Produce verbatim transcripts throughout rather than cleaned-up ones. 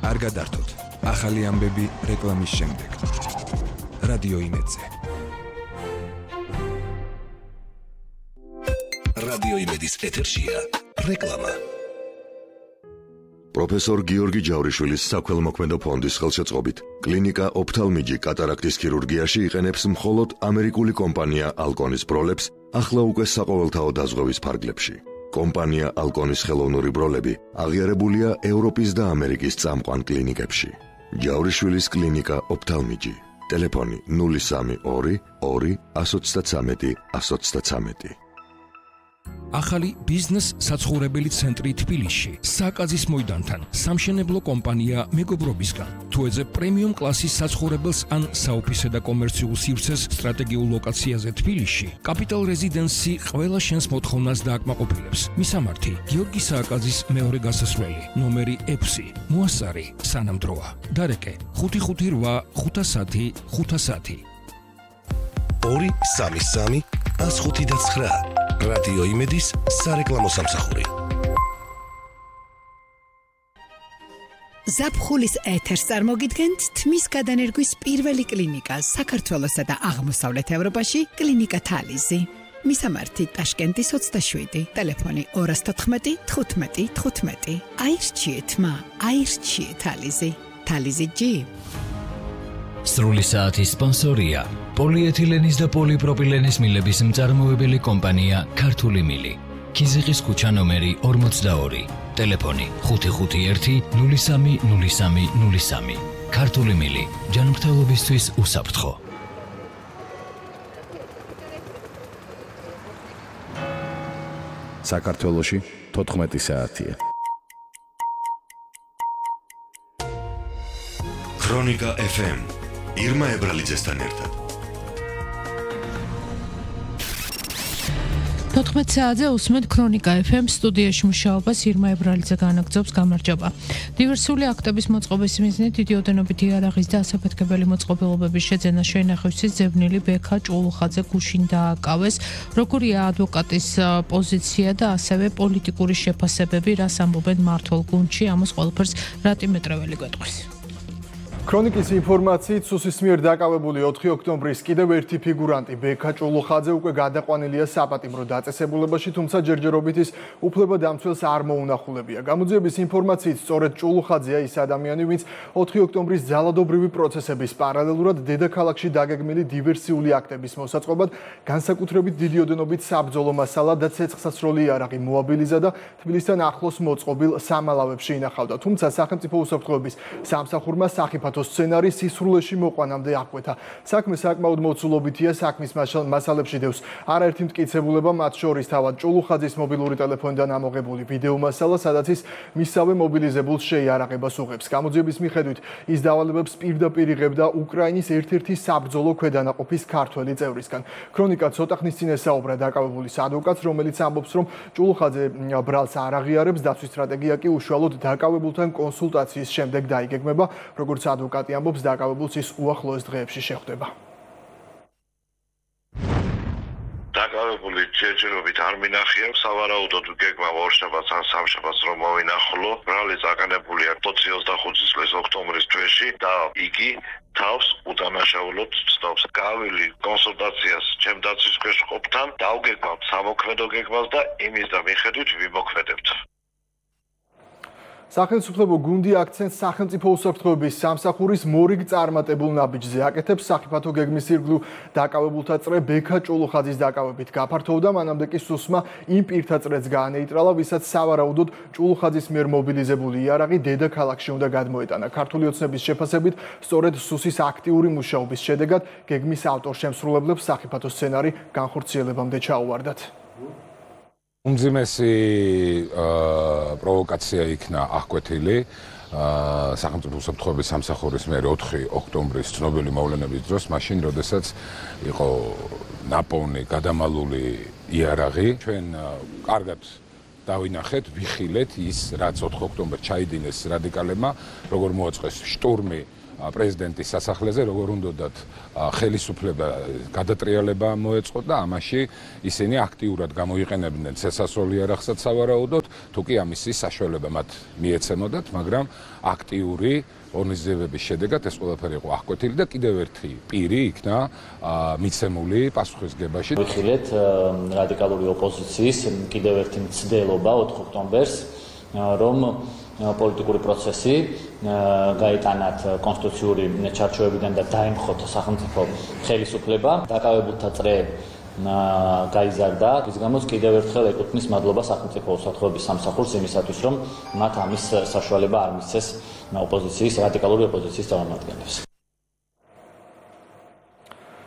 არ გადართოთ. ახალი ამბები რეკლამის შემდეგ. რადიო იმედზე. რადიო იმედის ეთერშია რეკლამა. პროფესორ გიორგი ჯავრიშვილის საქველმოქმედო ფონდის ხელშეწყობით კლინიკა ოფთალმიჯი კატარაქტის ქირურგიაში იყენებს მხოლოდ ამერიკული კომპანია ალკონის ბროლებს ახლა უკვე საყოველთაო დაზღვევის ფარგლებში. კომპანია ალკონის ხელოვნური ბროლები აღიარებულია ევროპის და ამერიკის წამყვან კლინიკებში. ჯავრიშვილის კლინიკა ოფთალმიჯი. ტელეფონი ნული სამი ორი ორი একশো তেত্রিশ একশো তেত্রিশ. ახალი ბიზნეს საცხოვრებელი ცენტრი თბილისში, საკაზის მოედანთან, სამშენებლო კომპანია მეგობრობისგან. თუ ეძებ პრემიუმ კლასის საცხოვრებელს ან საოფისე და კომერციულ სივრცეს სტრატეგიულ ლოკაციაზე თბილისში, კაპიტალ რეზიდენსი ყველა შენს მოთხოვნას დააკმაყოფილებს. მისამართი: გიორგი სააკაძის მეორე გასასვლელი, ნომერი ექვსი, მოასარი, სანამდროა. დარეკე: ხუთი ხუთი რვა ხუთასათი ხუთასათი. ორი სამი სამი ას ხუთი და ცხრა. რადიო იმედის სარეკლამო სამსახური. ზაფხულის ეთერს წარმოგიდგენთ თმის გადანერგვის პირველი კლინიკა საქართველოსა და აღმოსავლეთ ევროპაში, კლინიკა თალიზი. მისამართი: ტაშკენტის ოცდაშვიდი, ტელეფონი ორას თოთხმეტი თხუთმეტი თხუთმეტი. აირჩიეთ მა, აირჩიეთ თალიზი. თალიზი ჯი. სრული საათის სპონსორია პოლიეთილენის და პოლიპროპილენის მილების მწარმოებელი კომპანია ქართული მილი. ქიზიყის ქუჩა ნომერი ორმოცდაორი. ტელეფონი ხუთი ხუთი ერთი ნული სამი ნული სამი ნული სამი. ქართული მილი, ჯანმრთელობისთვის უსაფრთხო. საქართველოში თოთხმეტი საათია. ქრონიკა ეფ ემ ირმა ებრალიძესთან ერთად. თოთხმეტ საათზე უსმენთ ქრონიკა ეფ ემ სტუდიაში მუშაობას ირმა ებრალიძე განაგრძობს. გამარჯობა. დივერსიული აქტების მოწყობის მიზნით დიდი ოდენობით იარაღის და ასაფეთქებელი მოწყობილობების შეძენა შეინახევსის ძებნილი ბექა ჭულუხაძე გუშინ დააკავეს. როგორია ადვოკატის პოზიცია და ასევე პოლიტიკური შეფასებები, რას ამბობენ მმართველ გუნდში, ამას ყველაფერს რატი მეტრეველი გვეტყვის. ქრონიკის ინფორმაციით სუსის მიერ დაკავებული ოთხი ოქტომბრის კიდევ ერთი ფიგურანტი ბექა ჭულუხაძე უკვე გადაყვანილია საპატიმრო დაწესებულებაში, თუმცა ჯერჯერობით ის უფლებადამცველს არ მოუნახულებია. გამოძიების ინფორმაციით სწორედ ჭულუხაძეა ის ადამიანი, ვინც ოთხი ოქტომბრის ძალადობრივი პროცესების პარალელურად დედაქალაქში დაგეგმილი დივერსიული აქტების მოსაწყობად განსაკუთრებით დიდი ოდენობით საბრძოლო მასალა და ცეცხლსასროლი იარაღი მოაბილიზა და თბილისთან ახლოს მოწყობილ სამალავებში ინახავდა. თუმცა სახელმწიფო უსაფრთხოების სამსახურმა სახიფათო სცენარი სისრულეში მოყვანამდე აღკვეთა. საქმე საკმაოდ მოცულობითია, საქმის მასალებში დევს არაერთი მტკიცებულება, მათ შორის თავად ჭულუხაძის მობილური ტელეფონიდან ამოღებული ვიდეო მასალა, სადაც ის მისსავე მობილიზებულს შეიარაღებას უღებს. გამოძიების მიხედვით ის დავალებებს პირდაპირ იღებდა უკრაინის ერთ-ერთი საბრძოლო ქვედანაყოფის ქართველი წევრისგან. ქრონიკა ცოტა ხნის წინ ესაუბრა დაკავებულის ადვოკატს, რომელიც ამბობს, რომ ჭულუხაძე ბრალს არ აღიარებს, დაცვის სტრატეგია კი უშუალოდ დაკავებულთან კონსულტაციის შემდეგ დაიგეგმება, როგორც ადვოკატი ამბობს, დაკავებულს ის უახლოეს დღეებში შეხვდება. დაკავებული ჯერჯერობით არ მინახია, სავარაუდოდ გეგმა ორშაბათს ან სამშაბათს რომ მოვინახულო. ბრალი წაყენებულია ოცდახუთი წლის ოქტომბრის თვეში და იგი თავს უდანაშაულოდ ცნობს. გავილი კონსულტაციას ჩემ დაცვის ქვეშ ყოფთან, დავგეგმავთ სამოქმედო გეგმას და იმის და მიხედვით ვიმოქმედებთ. სახელმწიფო გუნდი აქცენტს სახელმწიფო უსაფრთხოების სამსახურის მორიგ წარმატებულ ნაბიჯზე აკეთებს. სახიფათო გეგმის ირგვლივ დაკავებულთა წრე ბექა ჭულუხაძის დაკავებით გაფართოვდა, მანამდე კი სუსმა იმ პირთა წრეც გაანეიტრალა, ვისაც სავარაუდოდ ჭულუხაძის მიერ მობილიზებული იარაღი დედაქალაქში უნდა გადმოეტანა. ქართული ოცნების შეფასებით, სწორედ სუსის აქტიური მუშაობის შედეგად გეგმის ავტორ-შემსრულებლებს სახიფათო სცენარი განხორციელებამდე ჩაუვარდათ. უმძიმესი პროვოკაცია იქნა აღკვეთილი სახელმწიფო უსაფრთხოების სამსახურის მიერ ოთხი ოქტომბრის ცნობილი მოვლენების დროს, მაშინ, როდესაც იყო ნაპოვნი გადამალული იარაღი. ჩვენ კარგად დავინახეთ, ვიხილეთ ის, რაც ოთხი ოქტომბერს ჩაიდინეს რადიკალებმა, როგორ მოაწყეს შტურმი პრეზიდენტის სასახლეზე, როგორ უნდათ ხელისუფლება გადატრიალება მოეწყოთ და ამაში ისინი აქტიურად გამოიყენებდნენ ცესასროლ იარაღსაც სავარაუდოდ, თუ კი ამისი საშუალება მათ მიეცემოდათ, მაგრამ აქტიური ორგანიზებების შედეგად ეს ყველაფერი იყო აღკვეთილი და კიდევ ერთი პირი იქნა მიცემული პასუხისგებაში. ვიხილეთ რადიკალური ოპოზიციის კიდევ ერთი მცდელობა ოთხ ოქტომბერს, რომ პოლიტიკური პროცესი გაიტანათ კონსტიტუციური ჩარჩოებიდან და დაემხოთ სახელმწიფო ხელისუფლება, დაკავებულთა წრე გაიზარდა, ის გამოც კიდევ ერთხელ ეკუთვნის მადლობა სახელმწიფო უსაფრთხოების სამსახურს იმისათვის, რომ მათ ამის საშუალება არ მისცეს ოპოზიციის, რადიკალური ოპოზიციის წარმომადგენლებს.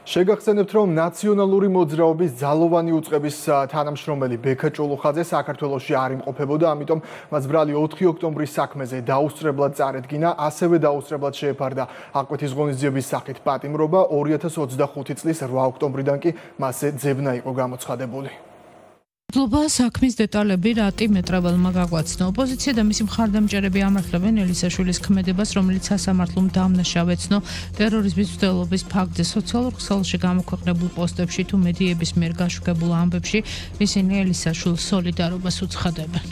შეგახსენებთ, რომ ნაციონალური მოძრაობის ძალოვანი უწყების თანამშრომელი ბექა ჭულუხაძე საქართველოში არ იმყოფებოდა, ამიტომ მას ბრალი ოთხი ოქტომბრის საქმეზე დაუსწრებლად წარედგინა, ასევე დაუსწრებლად შეეფარდა აღკვეთის ღონისძიების სახით პატიმრობა, ორი ათას ოცდახუთი წლის რვა ოქტომბრიდან კი მასზე ძებნა იყო გამოცხადებული. მადლობა საქმის დეტალები რატი მეტრაველმა გაგვაცნო. ოპოზიცია და მისი მხარდამჭერები ამართლებენ ელისაშვილის ქმედებას, რომელიც სასამართლომ დამნაშავეცნო ტერორიზმის მცდელობის ფაქტზე სოციალურ ქსელში გამოქვეყნებულ პოსტებში თუ მედიების მიერ გაშუქებულ ამბებში ისინი ელისაშვილს სოლიდარობას უცხადებენ.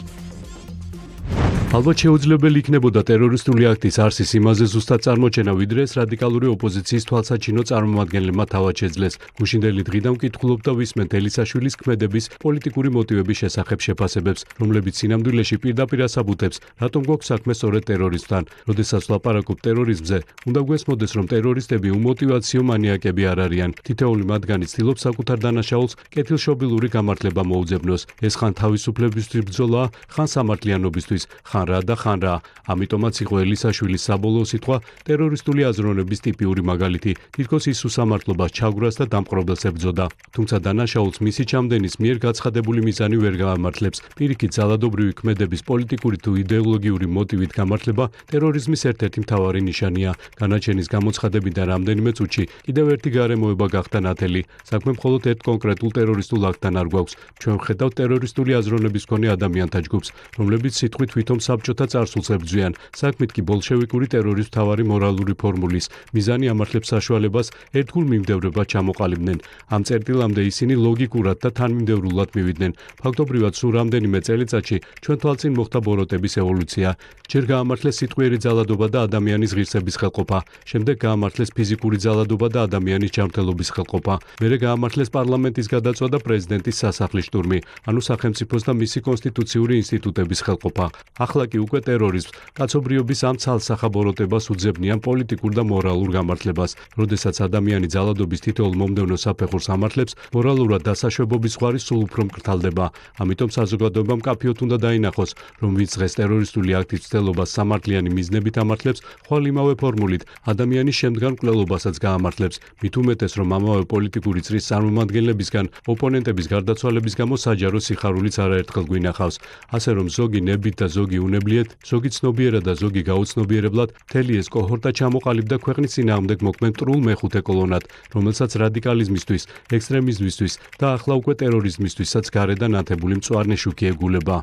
ალბათ შეუძლებელი იქნებოდა ტერორისტული აქტის არსის იმაზე ზუსტად წარმოჩენა, ვიდრე ეს რადიკალური ოპოზიციის თვალსაჩინო წარმომადგენლებმა თავად შეძლეს. გუშინდელი დღიდან ვკითხულობ და ვისმენთ ელისაშვილის ქმედების პოლიტიკური მოტივების შესახებ შეფასებებს, რომლებიც სინამდვილეში პირდაპირ ასაბუთებს, რატომ გვაქვს საქმე სწორედ ტერორისტთან. როდესაც ვლაპარაკობ ტერორიზმზე, უნდა გვესმოდეს, რომ ტერორისტები უმოტივაციო მანიაკები არ არიან. თითოეული მათგანი ცდილობს საკუთარ დანაშაულს კეთილშობილური გამართლება მოუძებნოს. ეს ხან თავისუფლებისთვის ბრძოლა, ხან სამართლიანობისთვის. ხან რა და ხან რა. ამიტომაც იყო ელისაშვილის საბოლოო სიტყვა ტერორისტული აზროვნების ტიპიური მაგალითი. თითქოს ის უსამართლობას ჩაგვრას და დამყრობელს ებრძოდა. თუმცა დანაშაულს მისი ჩამდენის მიერ გაცხადებული მიზანი ვერ გაამართლებს. პირიქით, ძალადობრივი ქმედების პოლიტიკური თუ იდეოლოგიური მოტივით გამართლება ტერორიზმის ერთ-ერთი მთავარი ნიშანია. განაჩენის გამოცხადებიდან რამდენიმე წუთში კიდევ ერთი გარემოება გახდა ნათელი. საქმე მხოლოდ ერთ კონკრეტულ ტერორისტულ აქტთან არ გვაქვს. ჩვენ ვხედავთ ტერორისტული აზროვნების მქონე ადამიანთა ჯგუფს, რომლებიც სიტყვით თვითონ საბჭოთა წარსულს ებრძვიან. საქმით კი ბოლშევიკური ტერორის მთავარი მორალური ფორმულის მიზანი ამართლებს საშუალებას ერთგულ მიმდევრებად ჩამოყალიბდნენ. ამ წერტილამდე ისინი ლოგიკურად და თანმიმდევრულად მივიდნენ. ფაქტობრივად სულ რამდენიმე წელიწადში ჩვენ თვალწინ მოხდა ბოროტების ევოლუცია. ჯერ გაამართლეს სიტყვიერი ძალადობა და ადამიანის ღირსების ხელყოფა, შემდეგ გაამართლეს ფიზიკური ძალადობა და ადამიანის ჯანმრთელობის ხელყოფა, მერე გაამართლეს პარლამენტის გადაწვა და პრეზიდენტის სასახლის შტურმი, ანუ სახელმწიფოს და მისი კონსტიტუციური ინსტიტუტების ხელყოფა. ახლა კი უკვე ტერორიზმს, კაცობრიობის ამ ცალსახა ბოროტებას უძებნიან პოლიტიკურ და მორალურ გამართლებას. როდესაც ადამიანი ძალადობის თითოეულ მომდევნო საფეხურს ამართლებს, მორალურად დასაშვებობის ზღვარი სულ უფრო მკრთალდება. ამიტომ საზოგადოებამ მკაფიოდ უნდა დაინახოს, რომ ვინც დღეს ტერორისტული აქტის მცდელობას სამართლიანი მიზნებით ამართლებს, ხვალ იმავე ფორმულით ადამიანის შემდგარ მკვლელობასაც გაამართლებს. მით უმეტეს, რომ ამავე პოლიტიკური წრის წარმომადგენლებისგან ოპონენტების გარდაცვალების გამო საჯარო სიხარულიც არაერთხელ გვინახავს. ასე რომ ზოგი ნებით და ზოგი უნებლიეთ, ზოგი ცნობიერად და ზოგი გაუცნობიერებლად, მთელი ეს კოჰორტა ჩამოყალიბდა ქვეყნის წინააღმდეგ მოქმედ მტრულ მეხუთე კოლონად, რომელსაც რადიკალიზმისთვის, ექსტრემიზმისთვის და ახლა უკვე ტერორიზმისთვისაც გარედან ათებული მწვანე შუქი ეგულება.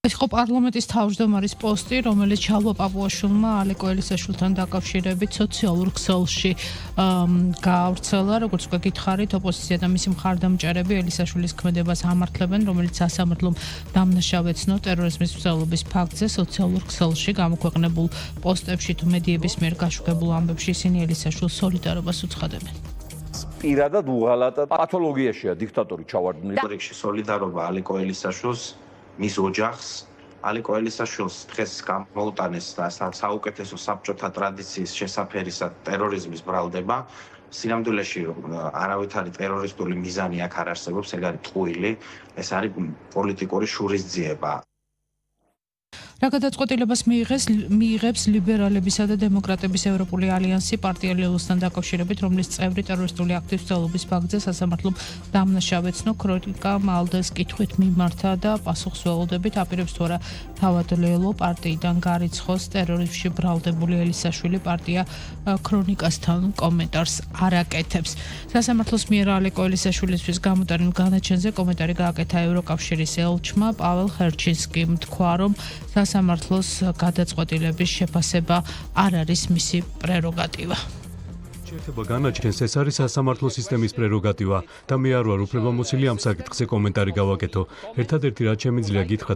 ეს იყო პარლამენტის თავმჯდომარის პოსტი, რომელიც ჩალვა პაპუაშვილმა ალეკო ელისაშვილთან დაკავშირებით სოციალურ ქსელში გაავრცელა. როგორც უკვე გითხარით, ოპოზიცია და მისი მხარდამჭერები ელისაშვილის ქმედებას ამართლებენ, რომელიც სასამართლომ დამნაშავეცნო ტერორიზმის მცდელობის ფაქტზე სოციალურ ქსელში გამოქვეყნებულ პოსტებში თუ მედიების მიერ გაშუქებულ ამბებში ისინი ელისაშვილს სოლიდარობას უცხადებენ. პირადად უღალატა პათოლოგიაშია დიქტატორი ჩავარდნილი. რიგში სოლიდარობა ალეკო ელისაშვილს მის ოჯახს, ალეკო ელისაშვილს დღეს გამოუტანეს და საუკეთესო საბჭოთა ტრადიციის შესაფერისად ტერორიზმის ბრალდება. სინამდვილეში არავითარი ტერორისტული მიზანი აქ არ არსებობს, ეგ არის ტყუილი, ეს არის პოლიტიკური შურისძიება. რა გადაწყვეტილებას მიიღეს მიიღებს ლიბერალებისა და დემოკრატების ევროპული ალიანსი პარტია ლელოსთან დაკავშირებით, რომლის წევრი ტერორისტული აქტის მცდელობის ფაქტზე სასამართლომ დამნაშავეცნო. ქრონიკა მალდეს კითხვით მიმართა და პასუხს ველოდებით აპირებს თუ არა თავად ლელო პარტიიდან გარიცხოს ტერორიზმში ბრალდებული ელისაშვილი. პარტია ქრონიკასთან კომენტარს არ აკეთებს. სასამართლოს მიერ ალეკო ელისაშვილისთვის გამოტანილ განაჩენზე კომენტარი გააკეთა ევროკავშირის ელჩმა პაվել ხერჩინსკიმ. თქვა, რომ სასამართლოს გადაწყვეტილების შეფასება არ არის მისი პრეროგატივა. შეერთება განაჩენს ეს არის სასამართლო სისტემის პრეროგატივა და მე არ ვარ უფლებამოსილი ამ საკითხზე კომენტარი გავაკეთო. ერთადერთი რაც შემიძლია გითხრათ